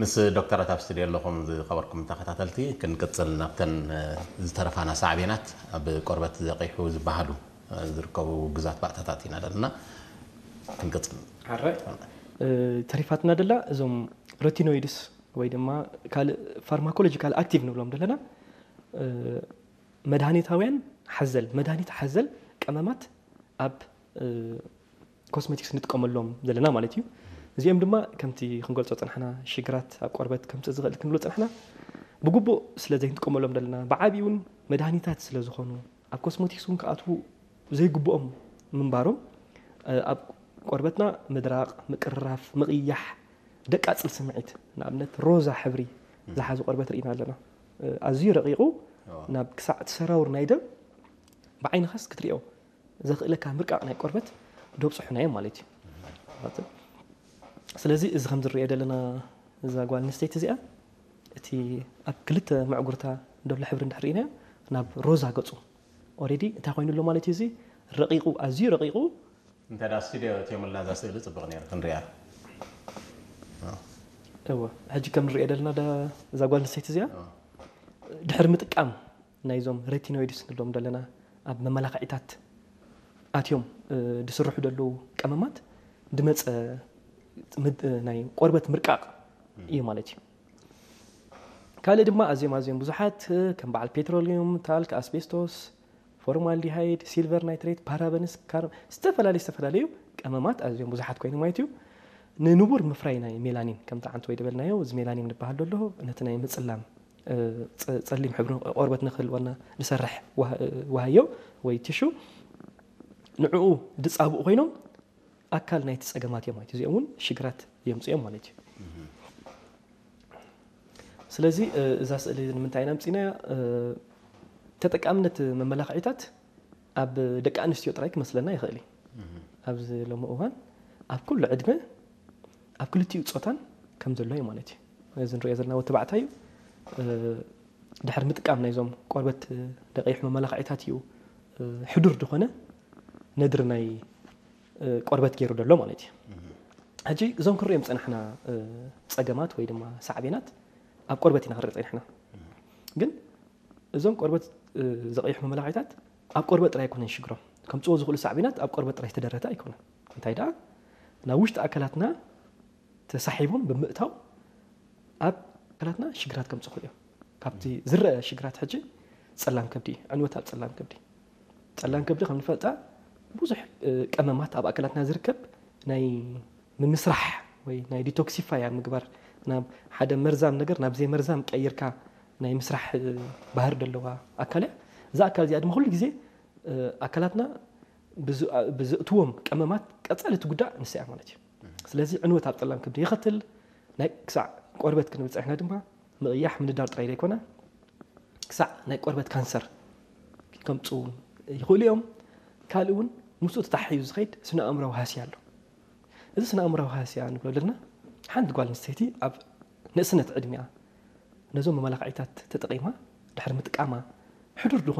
ምስ ዶክተራት ኣብ ስቱድዮ ኣለኹም ዝኸበርኩም ተኸታተልቲ፣ ክንቅጽል ናብተን ዝተረፋና ሳዕቤናት ኣብ ቆርበት ዘቂሑ ዝበሃሉ ዝርከቡ ግዛት ባእታታት ኢና ዘለና። ክንቅጽል። ተሪፋትና ደላ እዞም ሬቲኖይድስ ወይ ድማ ካልእ ፋርማኮሎጂካል ኣክቲቭ ንብሎም ዘለና መድሃኒታውያን ሓዘል መድሃኒት ሓዘል ቀመማት ኣብ ኮስሜቲክስ ንጥቀመሎም ዘለና ማለት እዩ። እዚኦም ድማ ከምቲ ክንገልጾ ጸናሕና ሽግራት ኣብ ቆርበት ከምጽእ ዝኽእል ክንብሎ ጸናሕና ብግቡእ ስለ ዘይንጥቀመሎም ዘለና ብዓቢኡ እውን መድሃኒታት ስለ ዝኾኑ ኣብ ኮስሞቲክስ እውን ክኣትዉ ዘይግብኦም ምንባሮም ኣብ ቆርበትና ምድራቕ፣ ምቅርራፍ፣ ምቕያሕ፣ ደቃጽል ስምዒት ንኣብነት ሮዛ ሕብሪ ዝሓዙ ቆርበት ርኢና ኣለና። ኣዝዩ ረቂቑ ናብ ክሳዕ እቲ ሰራውር ናይ ደም ብዓይንኻስ ክትሪኦ ዘኽእለካ ምርቃቕ ናይ ቆርበት ደብፅሑና እዮም ማለት እዩ። ስለዚ እዚ ከም ዝረአ ዘለና እዛ ጓል ኣንስተይቲ እዚኣ እቲ ኣብ ክልተ መዕጉርታ ዘሎ ሕብሪ እንድሕር ርኢናዮ ናብ ሮዛ ገፁ ኦሬዲ እንታይ ኮይኑ ኣሎ ማለት እዩ። እዚ ረቂቑ ኣዝዩ ረቂቑ እንተ ዳ ስቱዲዮ እትዮምልና እዛ ስእሊ ፅቡቕ ነይሩ ክንሪኣ። እወ ሕጂ ከም ንሪኦ ዘለና እዛ ጓል ኣንስተይቲ እዚኣ ድሕሪ ምጥቃም ናይዞም ሬቲኖይድስ ንብሎም ዘለና ኣብ መመላኽዒታት ኣትዮም ዝስርሑ ዘለዉ ቀመማት ድመፀ ናይ ቆርበት ምርቃቕ እዩ ማለት እዩ። ካልእ ድማ ኣዝዮም ኣዝዮም ብዙሓት ከም በዓል ፔትሮሊየም፣ ታልክ፣ ኣስቤስቶስ፣ ፎርማልዲሃይድ፣ ሲልቨር ናይትሬት፣ ፓራበንስ፣ ዝተፈላለዩ ዝተፈላለዩ ቀመማት ኣዝዮም ብዙሓት ኮይኖም ማለት እዩ። ንንቡር ምፍራይ ናይ ሜላኒን ከምቲ ዓንተ ወይ ዝበልናዮ እዚ ሜላኒን ዝበሃል ዘሎ ነቲ ናይ ምፅላም ጸሊም ሕብሪ ቆርበት ንክህልወና ዝሰርሕ ዋህዮ ወይ ቲሹ ንዕኡ ድፃብኡ ኮይኖም ኣካል ናይቲ ፀገማት እዮም ማለት እዩ። እዚኦም እውን ሽግራት የምፅኦም ማለት እዩ። ስለዚ እዛ ስእሊ ንምንታይ ኢና ኣምፂናያ? ተጠቃምነት መመላኽዒታት ኣብ ደቂ ኣንስትዮ ጥራይ ክመስለና ይኽእል እዩ። ኣብዚ ሎሚ እዋን ኣብ ኩሉ ዕድመ ኣብ ክልቲኡ ፆታን ከም ዘሎ እዩ ማለት እዩ። እዚ ንሪኦ ዘለና ወዲ ተባዕታይ እዩ። ድሕሪ ምጥቃም ናይዞም ቆርበት ደቂሕ መመላኽዒታት እዩ ሕዱር ዝኾነ ነድሪ ናይ ቆርበት ገይሩ ዘሎ ማለት እዩ። ሕጂ እዞም ክንሪኦም ዝፀናሕና ፀገማት ወይ ድማ ሳዕቤናት ኣብ ቆርበት ኢና ክንርኢ ፀኒሕና። ግን እዞም ቆርበት ዘቐይሑ መመላኽዒታት ኣብ ቆርበት ጥራይ ኣይኮነን ሽግሮም። ከምፅዎ ዝኽእሉ ሳዕቤናት ኣብ ቆርበት ጥራይ ዝተደረተ ኣይኮነን። እንታይ ደኣ ናብ ውሽጢ ኣካላትና ተሳሒቦም ብምእታው ኣብ ኣካላትና ሽግራት ከምፅኡ እዮም። ካብቲ ዝረአ ሽግራት ሕጂ ፀላም ከብዲ እዩ። ዕንወት ኣብ ፀላም ከብዲ። ፀላም ከብዲ ከም ንፈልጣ ብዙሕ ቀመማት ኣብ ኣካላትና ዝርከብ ናይ ምምስራሕ ወይ ናይ ዲቶክሲፋይ ኣብ ምግባር ናብ ሓደ መርዛም ነገር ናብ ዘይመርዛም ቀይርካ ናይ ምስራሕ ባህሪ ዘለዋ ኣካል እያ። እዛ ኣካል እዚኣ ድማ ኩሉ ግዜ ኣካላትና ብዘእትዎም ቀመማት ቀፃሊ ትጉዳእ ንሳ እያ ማለት እዩ። ስለዚ ዕንወት ኣብ ፀላም ከብዲ የኸትል። ናይ ክሳዕ ቆርበት ክንብል ፀኒሕና ድማ ምቕያሕ ምንዳር ጥራይ ዘይኮነ ክሳዕ ናይ ቆርበት ካንሰር ከምፁ እውን ይኽእሉ እዮም። ካልእ እውን ምስኡ ተታሓሒዙ ዝኸይድ ስነ ኣእምራዊ ሃስያ ኣሎ። እዚ ስነ ኣእምራዊ ሃስያ ንብሎ ዘለና ሓንቲ ጓል ኣንስተይቲ ኣብ ንእስነት ዕድሚኣ ነዞም መመላኽዒታት ተጠቒማ ድሕሪ ምጥቃማ ሕዱር ዝኾነ